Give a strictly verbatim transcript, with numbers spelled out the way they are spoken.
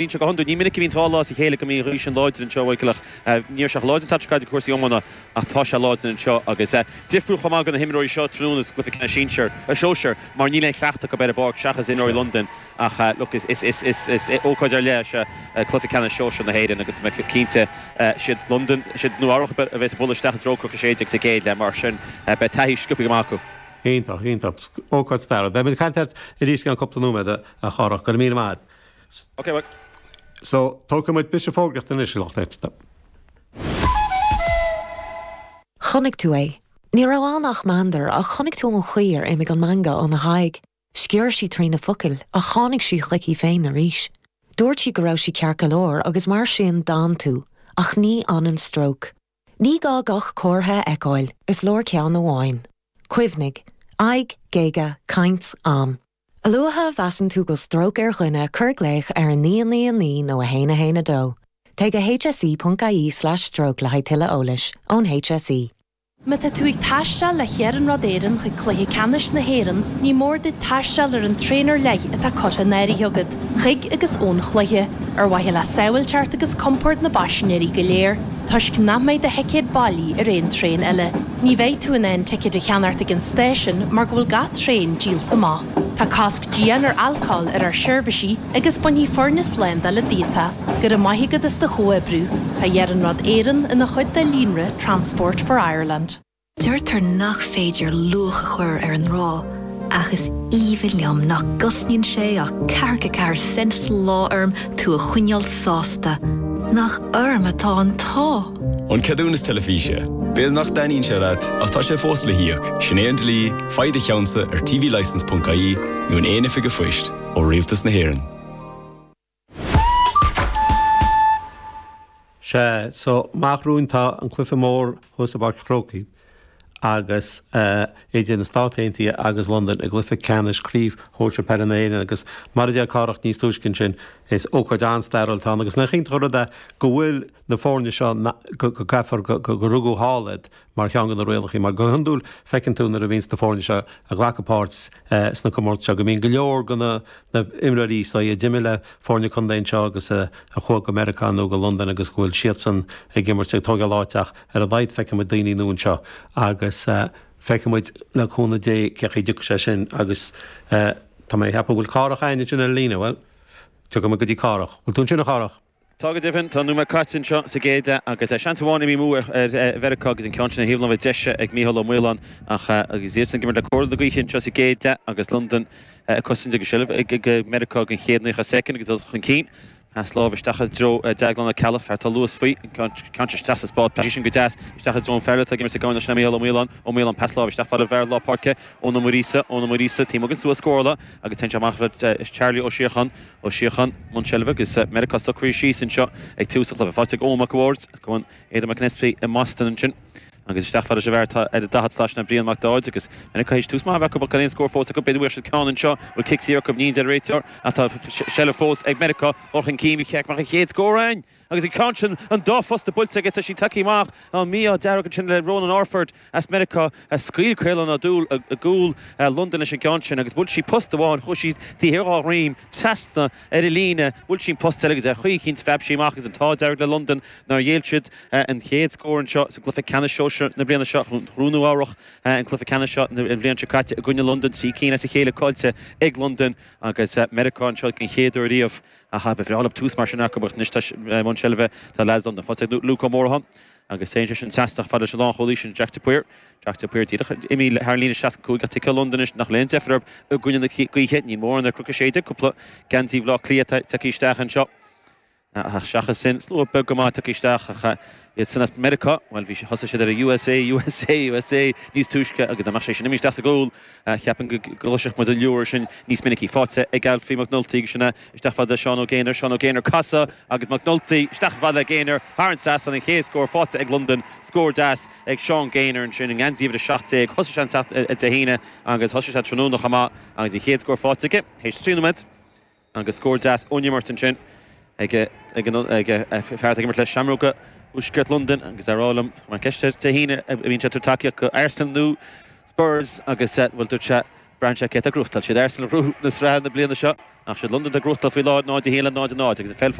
Bíonn sé go hiondúil, ní minic a bhíonn dhá lá as a chéile go mbíonn an ghaoth sin láidir anseo, a Mhichael, ach ní raibh sé chomh láidir an tseachtain seo caite cúrsaí iomána ach tá sé láidir anseo agus difriúil chomh maith do na himreoirí seo tráthnóna sa gcluiche ceannais sinsir, sóisir mar níl aon chleachtadh acu ar an bpáirc seachas imreoirí Londain ach look is is is is is ócáid ar leith é seo cluiche ceannais sóisir na hÉireann agus tá mé cinnte siad Londain, siad Nua Eabhrac a bheas ag bualadh isteach i dtreo Cnoc a sé déag sa gcéad leath mar sin beidh taithí sciobtha go maith acu. Iontach, iontach. Ócáid stairiúil. Beidh muid ag caint leat arís i gceann cúpla nóiméad, a Chárthach. Go raibh míle maith agat. Ok, bye. So, tógfaidh muid briseadh fógraíochta anois, a lucht éisteachta. Chonaic tú é. Ní raibh ann ach meandar ach chonaic tú an chaoi ar imigh an meangadh óna haghaidh. Sciorr sí trí na focail ach tháinig sí chuici féin arís. Dúirt sí go raibh sí ceart go leor agus mar sin d'fhan tú, ach ní fhanann stróc. Ní gá gach comhartha a fheiceáil, is leor ceann amháin. Cuimhnigh, aghaidh, géaga, caint, am. A luaithe a mheasann tú go stróc ar dhuine cuir glaoch ar a naoi naoi naoi nó a haon a haon a dó. Téigh go hse.ie slash stroke le haghaidh tuilleadh eolais ón HSE. Má tá tú ag taisteal le hIarnród Éireann chuig Cluiche Ceannais na hÉireann, ní mór duit taisteal ar an traein ar leith atá curtha in áirithe agat, chuig agus ón chluiche, ar mhaithe le sábháilteacht agus compord na bpaisinéirí go léir, toisc nach mbeidh do thicéad bailí ar aon traein eile. Ní bheidh tú in ann ticéad a cheannacht ag an stáisiún mar go bhfuil gach traein díolta amach. Tá cosc dian ar alcól ar ár seirbhísí agus bainfidh foirne slándála díot. Go raibh maith agat as do chomhoibriú. Tá Iarnród Éireann ina chuid de líonra Transport for Ireland. Deirtear nach féidir luach a chur ar an ngrá, ach is aoibhinn liom nach gcosnaíonn sé ach ceathracha ceathair cent sa lá orm tú a choinneáil sásta. Nach orm atá an t-ádh. An ceadúnas teilifíse. B'fhéidir nach dtaitníonn sé leat ach tá sé fós le híoc, sin é an dlí, faigh do cheannsa ar tvlicence.ie nó in aon oifig phoist ó Rialtas na hÉireann. Sea, so amach romhainn tá an cluiche mór thuas i bPáirc an Chrócaigh agus idir na Stáit Aontaithe agus Londain i gcluiche ceannais Craobh Shóisir Peile na hÉireann agus mar a deir Cárthach níos túisce ansin is ócáid an-stairiúil atá ann agus nach iontach an rud é go bhfuil na foirne seo go gcaithfear go rugadh thall iad mar cheann de na rialacha mar go hiondúil feiceann tú nuair a bhíonns na foirne seo ag glacadh páirt sna comórtais seo go mbíonn go leor de na imreoirí seo a d'imir le foirne contae anseo agus a chuaigh go Meiriceá nó go Londain agus go bhfuil siadsan ag imirt ag tógáil áit ach ar a laghad feicfidh muid daoine nua anseo agus feicfidh muid le cúnamh Dé cén chaoi a dtiocfaidh sé sin agus tá mé ag ceapadh go bhfuil Cárthach againn ansin ar líne, bhuel, tiocfaidh muid go dtí Cárthach. Bhfuil tú ansin a Chárthach? Tá go deimhin, tá nóiméad caite anseo sa gcéad leath agus seans amháin imithe amú ar Mheiriceá agus an ceann sin ar thaobh na láimhe deise ag Mícheál Ó Maoláin ach agus iadsan ag imirt le comhardadh na gaoithe anseo sa gcéad leath agus Londain ag cosaint agus seilbh ag Meiriceá don chéad naocha soicind agus dul chun cinn. Pas láimhe isteach i dtreo Deaglán Ó Ceallaigh, fear atá luas faoi, an ceann sin isteach sa spás, pas sin go deas isteach i dtreo an fear atá ag imirt sa gcamán sin Mícheál Ó Maoláin, Ó Maoláin pas láimhe isteach fad le fear lár páirce Eoin Ó Muiríosa, Eoin Ó Muiríosa taobh amuigh den stua scórála agus téann sé amach le Charlie Ó Síocháin, Ó Síocháin, i mbun seilbhe agus Meiriceá socraithe síos anseo ag tús an chluiche. Faighte ag Eoin Mac a' Bhaird, cumann Aidan McAnespie i mBoston ansin agus isteach fad leis an bhfear atá ar an daichead slat sin Brian Mac Dáid agus Meiriceá théis tús maith a bheith acu ach gan aon scór fós acu. B'fhéidir go bhfuil siad ceann anseo, bhfuil cic saor acu, ní deir an réiteoir ach tá seilbh fós ag Meiriceá. Dul chun cinn, ba cheart go mbeadh an chéad scór againn agus an ceann sin an dá phosta buailte aige tá sí tagtha amach. An mí-ádh dearg ansin le Ronan Orford as Meiriceá a scaoil Caolán Ó Dúill i gcúl Londain leis an gceann sin agus bhuail sí post amháin, chuaigh sí taobh thiar dhá dhroim, trasna ar an líne, bhuail sí an post eile agus ar chaoi eicínt phreab sí amach agus an t-ádh dearg le Londain nár ghéill siad an chéad scór anseo sa gcluiche ceannais sóisir na bliana seo. Ghnóthaigh Nua Eabhrach an cluiche ceannais seo an bhliain seo caite i gcoinne Londain, trí cinn as a chéile caillte ag Londain agus Meiriceá anseo den chéad uair riamh. Ach ba bhreá leo tús mar sin acu ach anois tá i mbun seilbhe tá leaids Londain. Faighte ag Luke Ó Mórdha agus téann sé sin trasna fad leis an lánchúlaí sin Jack de Paor. Jack de Paor díreach imithe thar an líne seasca cúig ach tuigthe Londain anois nach bhfuil aon deifir orthu i gcoinne na gaoithe. Níl mórán ar Chnoc a sé déag, cúpla geansaí Bhaile Átha Cliath atá tagtha isteach anseo. Ach seachas sin, slua beag go maith tagtha isteach ach iad san as Meiriceá, bhuel, bhí, thosaigh siad ar a USA, USA, USA níos túisce agus dá mbeadh sé sin imithe isteach sa gcúl, cheapfainn go gcloisfeadh muid an liúr sin níos minicí. Faighte ag Alfie McNulty agus sin é isteach fad le Seán Ó Gaynor, Seán Ó Gaynor casadh agus McNulty isteach fad le Gaynor thar an trasnán, an chéad scór faighte ag Londain, scór deas ag Seán Gaynor ansin i ngeansaí uimhir a seacht déag. Thosaigh sé an tseachtain Dé hAoine agus thosaigh sé tráthnóna chomh maith agus an chéad scór faighte aige théis trí nóiméad. Agus scór deas ón imirt ansin ag ag fear atá ag imirt le Seamróga Thuaisceart Londain agus é ag rá liom, chuir mé ceist air Dé hAoine, an mbíonn sé ag tabhairt tacaíocht do Arsenal nó Spurs agus bhuel dúirt sé Braitheann sé cé atá ag gnóthachtáil. Siad Arsenal a ghnóthaigh na sraithe na bliana seo ach siad Londain atá ag gnóthachtáil faoi láthair náid a haon le náid a náid agus an pheil